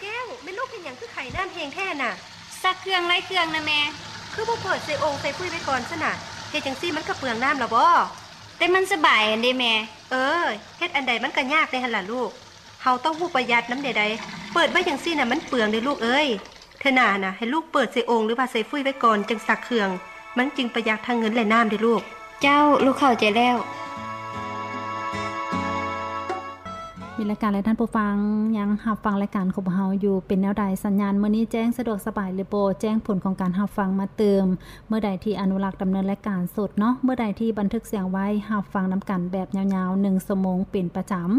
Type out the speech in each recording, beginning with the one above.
ແກ້ວ, ແມ່ລູກເຮັດຫຍັງຄືໄຂນ້ຳແຮງແທ້ນະ? ຊັກເຄື່ອງຫຼາຍເຄື່ອງນະແມ່. ຄືບໍ່ເປີດໃສ່ໂອ່ງໃສ່ຟຸ້ຍໄວ້ກ່ອນຊັ້ນນະ? ເຮັດຈັ່ງຊີ້ມັນກໍເປືອງນ້ຳລະບໍ? ແຕ່ມັນສະບາຍຫັ້ນເດ້ແມ່. ເອີ, ເຮັດອັນໃດມັນກໍຍາກແດ່ຫັ້ນລະລູກ. ເຮົາຕ້ອງຮູ້ປະຢັດນຳແດ່ໃດ. ເປີດໄວ້ຈັ່ງຊີ້ນະມັນເປືອງເດ້ລູກເອີຍ. ເທື່ອໜ້ານະ ໃຫ້ລູກເປີດໃສ່ໂອ່ງ ຫຼືວ່າໃສ່ຟຸ້ຍໄວ້ກ່ອນ ຈັ່ງຊັກເຄື່ອງ. ມັນຈຶ່ງປະຢັດທັງເງິນ ແລະ ນ້ຳເດ້ລູກ. ເຈົ້າ, ລູກເຂົ້າໃຈແລ້ວ. ມີລາຍການ ແລະ ທ່ານຜູ້ຟັງຍັງຮັບຟັງລາຍການຂອງພວກເຮົາຢູ່. ເປັນແນວໃດ? ສັນຍານມື້ນີ້ແຈ້ງສະດວກສະບາຍຫຼືບໍ່? ແຈ້ງຜົນຂອງການຮັບຟັງມາຕື່ມ. ເມື່ອໃດທີ່ອະນຸລັກດຳເນີນລາຍການສົດເນາະ, ເມື່ອໃດທີ່ບັນທຶກສຽງໄວ້, ຮັບຟັງນຳກັນແບບຍາວໆ ໜຶ່ງຊົ່ວໂມງເປັນປະຈຳ.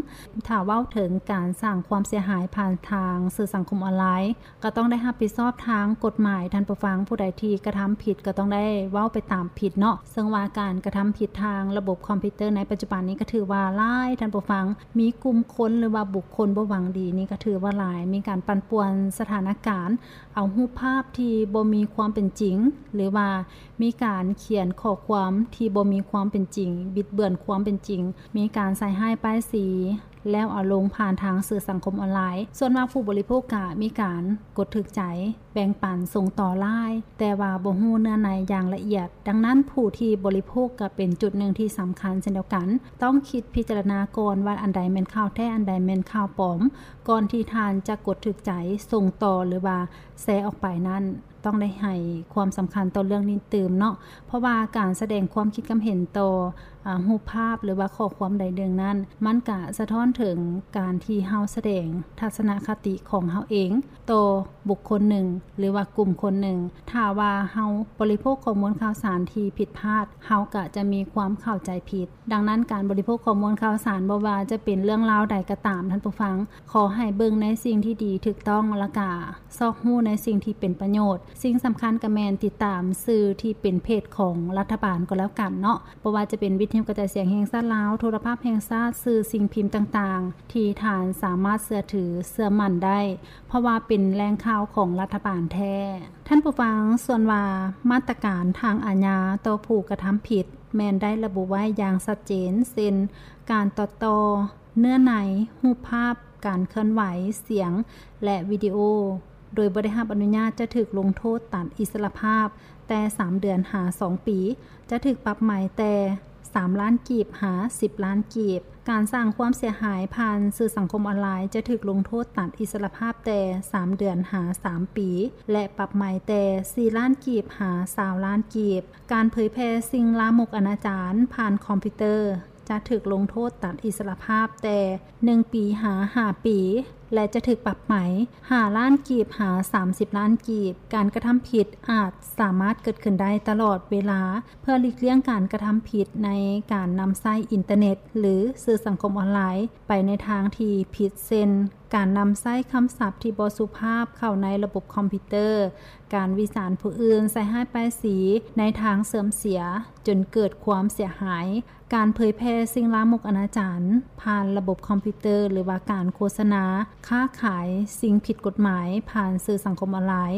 ຖ້າເວົ້າເຖິງການສ້າງຄວາມເສຍຫາຍຜ່ານທາງສື່ສັງຄົມອອນລາຍ, ກໍຕ້ອງໄດ້ຮັບຜິດຊອບທາງກົດໝາຍ. ທ່ານຜູ້ຟັງຜູ້ໃດທີ່ກະທຳຜິດ ກໍຕ້ອງໄດ້ເວົ້າໄປຕາມຜິດເນາະ. ເຊິ່ງວ່າການກະທຳຜິດທາງລະບົບຄອມພິວເຕີໃນປັດຈຸບັນນີ້ ກໍຖືວ່າຫຼາຍ, ທ່ານຜູ້ຟັງ. ມີກຸ່ມຄົນ ຫຼືວ່າບຸກຄົນບໍ່ຫວັງດີນີ້ ກໍຖືວ່າຫຼາຍ, ມີການປັ່ນປ່ວນສະຖານະການ, ເອົາຮູບພາບທີ່ບໍ່ມີຄວາມເປັນຈິງ ຫຼືວ່າມີການຂຽນຂໍ້ຄວາມທີ່ບໍ່ມີຄວາມເປັນຈິງ, ບິດເບືອນຄວາມເປັນຈິງ, ມີການໃສ່ຮ້າຍປ້າຍສີ ແລ້ວເອົາລົງຜ່ານທາງສື່ສັງຄົມອອນລາຍ. ສ່ວນວ່າຜູ້ບໍລິໂພກກະມີການກົດຖືກໃຈ, ແບ່ງປັນ, ສົ່ງຕໍ່ຫຼາຍ, ແຕ່ວ່າບໍ່ຮູ້ເນື້ອໃນຢ່າງລະອຽດ. ດັ່ງນັ້ນ, ຜູ້ທີ່ບໍລິໂພກກໍເປັນຈຸດໜຶ່ງທີ່ສຳຄັນເຊັ່ນດຽວກັນ. ຕ້ອງຄິດພິຈາລະນາກ່ອນວ່າອັນໃດແມ່ນຂ່າວແທ້, ອັນໃດແມ່ນຂ່າວປອມ, ກ່ອນທີ່ທ່ານຈະກົດຖືກໃຈ, ສົ່ງຕໍ່ ຫຼືວ່າແຊອອກໄປນັ້ນ. ຕ້ອງໄດ້ໃຫ້ຄວາມສຳຄັນຕໍ່ເລື່ອງນີ້ຕື່ມເນາະ, ເພາະວ່າການສະແດງຄວາມຄິດຄວາມເຫັນຕໍ່ ອາ ຮູບພາບ ຫຼືວ່າຂໍ້ຄວາມໃດໜຶ່ງນັ້ນ, ມັນກະສະທ້ອນເຖິງການທີ່ເຮົາສະແດງທັດສະນະຄະຕິຂອງເຮົາເອງຕໍ່ບຸກຄົນໜຶ່ງ ຫຼືວ່າກຸ່ມຄົນໜຶ່ງ. ຖ້າວ່າເຮົາບໍລິໂພກຂໍ້ມູນຂ່າວສານທີ່ຜິດພາດ, ເຮົາກະຈະມີຄວາມເຂົ້າໃຈຜິດ. ດັ່ງນັ້ນ, ການບໍລິໂພກຂໍ້ມູນຂ່າວສານ, ບໍ່ວ່າຈະເປັນເລື່ອງລາວໃດກໍຕາມ, ທ່ານຜູ້ຟັງ, ຂໍໃຫ້ເບິ່ງໃນສິ່ງທີ່ດີ, ຖືກຕ້ອງ, ແລ້ວກະຊອກຮູ້ໃນສິ່ງທີ່ເປັນປະໂຫຍດ. ສິ່ງສຳຄັນກໍແມ່ນຕິດຕາມສື່ທີ່ເປັນເພຈຂອງລັດຖະບານກໍແລ້ວກັນເນາະ, ບໍ່ວ່າຈະເປັນວິທະຍຸກະຈາຍສຽງແຫ່ງຊາດລາວ, ໂທລະພາບແຫ່ງຊາດ, ສື່ສິ່ງພິມຕ່າງໆ ທີ່ທ່ານສາມາດເຊື່ອຖືເຊື່ອໝັ້ນໄດ້, ເພາະວ່າເປັນແຫຼ່ງຂ່າວຂອງລັດຖະບານແທ້. ທ່ານຜູ້ຟັງ, ສ່ວນວ່າມາດຕະການທາງອາຍາຕໍ່ຜູ້ກະທຳຜິດ ແມ່ນໄດ້ລະບຸໄວ້ຢ່າງຊັດເຈນ, ເຊັ່ນ ການຕັດຕໍ່ເນື້ອໃນ, ຮູບພາບ, ການເຄື່ອນໄຫວ, ສຽງ ແລະ ວິດີໂອ ໂດຍບໍ່ໄດ້ຮັບອະນຸຍາດ ຈະຖືກລົງໂທດຕັດອິດສະຫຼະພາບແຕ່ສາມເດືອນຫາສອງປີ, ຈະຖືກປັບໃໝແຕ່ສາມລ້ານກີບຫາສິບລ້ານກີບ. ການສ້າງຄວາມເສຍຫາຍຜ່ານສື່ສັງຄົມອອນລາຍ ຈະຖືກລົງໂທດຕັດອິດສະຫຼະພາບແຕ່ສາມເດືອນຫາສາມປີ ແລະ ປັບໃໝແຕ່ສີ່ລ້ານກີບຫາຊາວລ້ານກີບ. ການເຜີຍແຜ່ສິ່ງລາມົກອະນາຈານຜ່ານຄອມພິວເຕີ ຈະຖືກລົງໂທດຕັດອິດສະຫຼະພາບແຕ່ໜຶ່ງປີຫາຫ້າປີ ແລະ ຈະຖືກປັບໃໝຫ້າລ້ານກີບຫາສາມສິບລ້ານກີບ. ການກະທຳຜິດອາດສາມາດເກີດຂຶ້ນໄດ້ຕະຫຼອດເວລາ ເພື່ອຫຼີກລ່ຽງການກະທຳຜິດໃນການນຳໃຊ້ອິນເຕີເນັດ ຫຼື ສື່ສັງຄົມອອນລາຍ ໄປໃນທາງທີ່ຜິດ ເຊັ່ນ ການນຳໃຊ້ຄຳສັບທີ່ບໍ່ສຸພາບເຂົ້າໃນລະບົບຄອມພິວເຕີ, ການວິຈານຜູ້ອື່ນ, ໃສ່ຮ້າຍປ້າຍສີໃນທາງເສື່ອມເສຍ ຈົນເກີດຄວາມເສຍຫາຍ, ການເຜີຍແຜ່ສິ່ງລາມົກອະນາຈານຜ່ານລະບົບຄອມພິວເຕີ ຫຼືວ່າການໂຄສະນາ, ຄ້າຂາຍສິ່ງຜິດກົດໝາຍຜ່ານສື່ສັງຄົມອອນລາຍ.